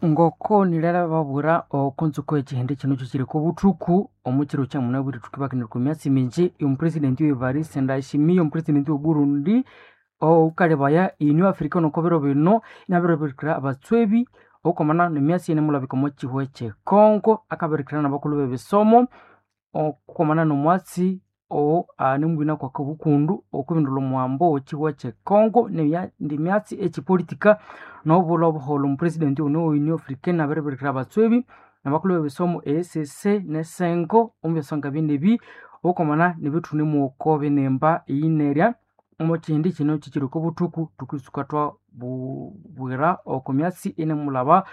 Ngoko nilera oko ntsuko ekihindi kino kyekiri kobuthuku omukiro kyamunabwire thukibakanira okwa myatsi mingi omupresident Evariste Ndayishimiye omupresident we Burundi owukalebaya Union Africana oko biro bino inabiribirikira abatswebi okwamana nemyatsi eyinemulabika omo kihugho ekye Congo akabirikira nabakulhu bebisomo okwamana nomwatsi anemubina kwakabukundu okwibindulha omuhambo owekihugho ekye Congo neyindi myatsi ekyipolitika nobulha obuholho omupresident ono we Union Africana abiribirikira abatswebi nabakulhu bebisomo EACC nesengo omubyasonga binebi okwamana nebithunemu binimba eyinerya omukihindi kino kyikyiri okobuthuku thukitsuka twabwira oko myatsi eyinemulhaba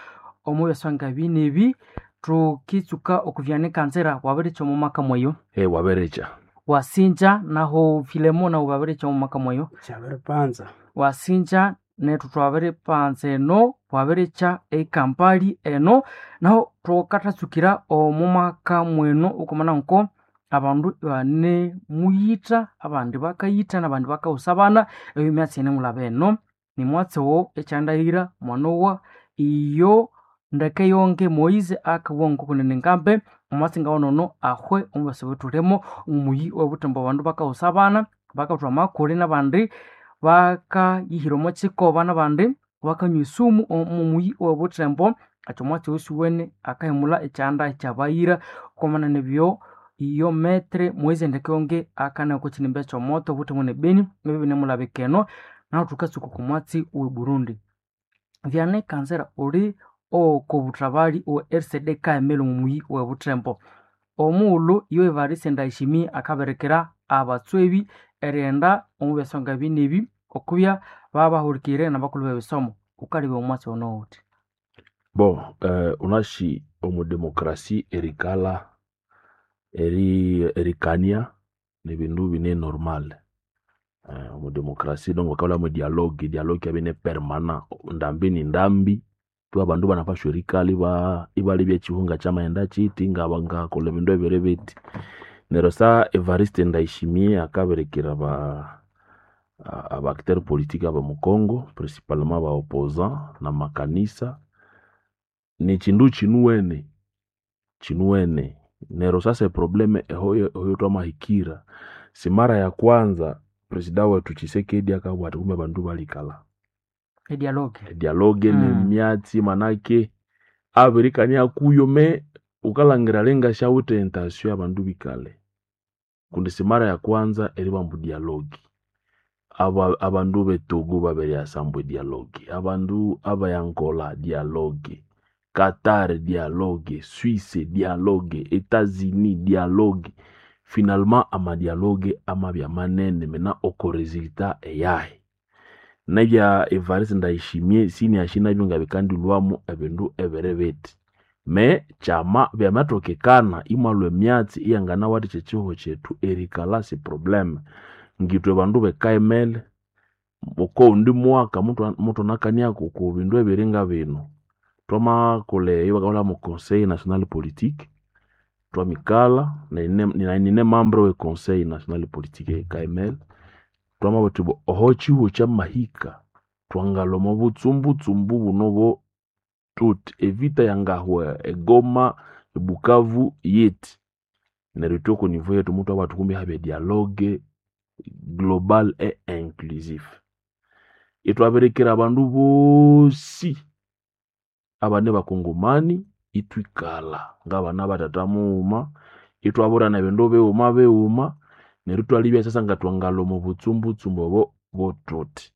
omubyasonga binebi thukitsuka okuvyanika nzira wabirikya omumaka mweyo. Wabirikya. Wasinja nahu Filemo nahu wabirikya omumaka mweyo. Kyabiripanza. Wasinja nethu twabiripanza eno wabirikya ekampali eno nahu thukathatsukira omumaka mwenu okwamana nko abandu ibanemuyitha abandi bakayitha nabandi bakawusa abana eyo myatsi yinemulhaba eno nimwatsi owo ekyandahira mwanowa iyo ndeke yonge Moise akabugha ngokunene ngambe omwatsi ngawunono ahwe omubasi obuthulimo omuyi owebuthembo abandu bakawusa abana bakathwa amakule nabandi bakayihira omo kikoba nabandi bakanywa esumu omuyi owebuthembo ekyo omwatsi oyo siwene akahimulha ekyanda ekyabayira okwamana nebyo iyo metre Moise ndeke yonge akanaya oko kinimba ekyomoto obuthembo ne Beni ebyo binemulabika eno nahu thukatsuka oko mwatsi owe Burundi. Vyanekanzira uli okobuthabali owe RCD Kaemele omuyi owebuthembo omughulhu iyo Evariste Ndayishimiye akabirikira abatswebi erighenda omubyasonga binebi okubya babahulikirire nabakulhu bebisomo wukalebya omwatsi ono wuthi. Bon, unashi omudemokrasi erikalha erikania nibindu bine normal. Omudemokrasi donc bakabulha dialogue, edialogue yabya ine permanent ndambi ni ndambi tu abandu ibanapashwa erikalha ibalebya ekihugho ngakyamaghenda kyithi ngakolha ebindu ebiri bithi. Neryo sa Evariste Ndayishimiye akabirikira aba acteur politique abomu Congo principalement aba opposant namakanisa nikyindu kyinuwene kyinuwene neryo sasa eproblem ehoyo thwamahikira simara ya kwanza presida wethu Tshisekedi akabugha athi kumbe abandu balikalha Edialogue. Edialogue nemyatsi manake abirikania kuyo me wukalhangira alinga syawithe intention yabandu bikalhe kundi simara ya kwanza eribamba dialogue. Abandu be Togo babiriyasa ambu edialogue, abandu abe Angola dialogue, Qatar dialogue, Suisse dialogue, Etats-Unis dialogue. Finalement amadialogue amabya manene mena oko resultat eyahi. Nebya Evariste Ndayishimiye siniashi nabyo ngabikandilhwamu ebindu ebiri bithi. Me kyama byamathokekana imwalhwa emyatsi iyanganawathikya ekihugho kyethu erikalha si probleme. Ngithwe bandu bekaimele okowundi mwaka muthunakaniaku oko bindu ebiri ngabinu. Thwamakolha eyo mu conseil national politique thwamikalha nayi nine membre we conseil national politique eye KML twamabugha thuthi oho ekihugho kyamahika thwangalhwa omo butsumbutsumbu buno bo thuthi evita yangahwa e Goma, e Bukavu yithi. Neryo ithwe oko niveau yethu muthwabugha thuthi kumbe ihabya edialogue global et inclusif. Ithwabirikira abandu bosi abane bakongomani ithwikalha ngabana bathatha mughuma ithwaburana ebindu bighuma bighuma neryo ithwalebya sasa ngathwangalhwa omo butsumbutsumbu obo bothuthi.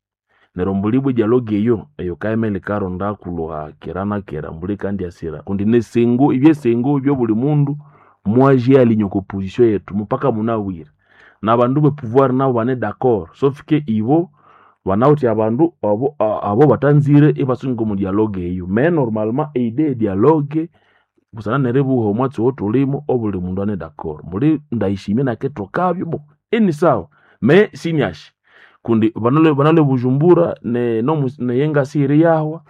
Neryo mbuli ibwa edialogue eyo, eyo KML yikaronda kulhuha kera na kera mbuli yikandyasira kundi nesengo ebyesengo byobuli mundu mwazyalinye oko position yethu mupaka munabwire. Nabandu be pouvoir nabo bane d'accord sauf que ibo banawithe abandu abo bathanzire ibasunga omo dialogue eyo. Mais normalement eidée ye dialogue busana neribugha omwatsi owathulimu obuli mundu ane d'accord. Mbuli Ndayishimiye nakithokabyo bon inisawa mais siniashi kundi banalwe Bujumbura neyenga siyiriyahwa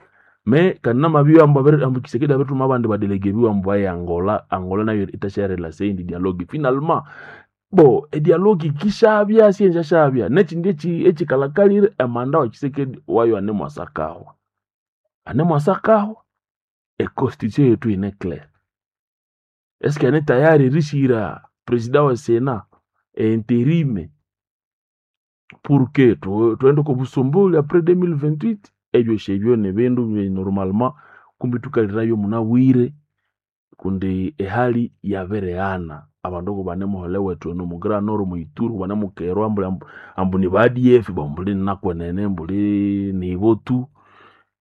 mais kandi namabibya ambu Tshisekedi abirithuma abandi badelegue biwe ambu baye Angola, Angola nayo yithasyarilasa eyindi dialogue. Finalement bo edialogue yikishabya siyendyashabya nekyindi ekyikalhakalire emanda wa Tshisekedi wayo anemwasakahwa, anemwasakahwa. Econstitution yetu ine claire. Eske ane tayari erishira president wa Sénat intérim pour que twende ko busomboli après 2028? Ebyo shebyo ni bindu bye normalement kumbi tukalirayo munabwire, kundi ehali yabireghana. Abandu kubanemuhole wethu eno mu Grand Nord, mu Ituri, kubanemukerwa mbuli ambu ni ba ADF, bo mbuli nakwenene mbuli nibo tu.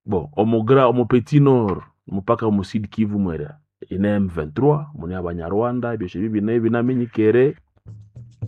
Bo omu Petit Nord mupaka omu Sud Kivu mwera ine M23 mune abanyarwanda, ebyo shebyo bine binaminyikere.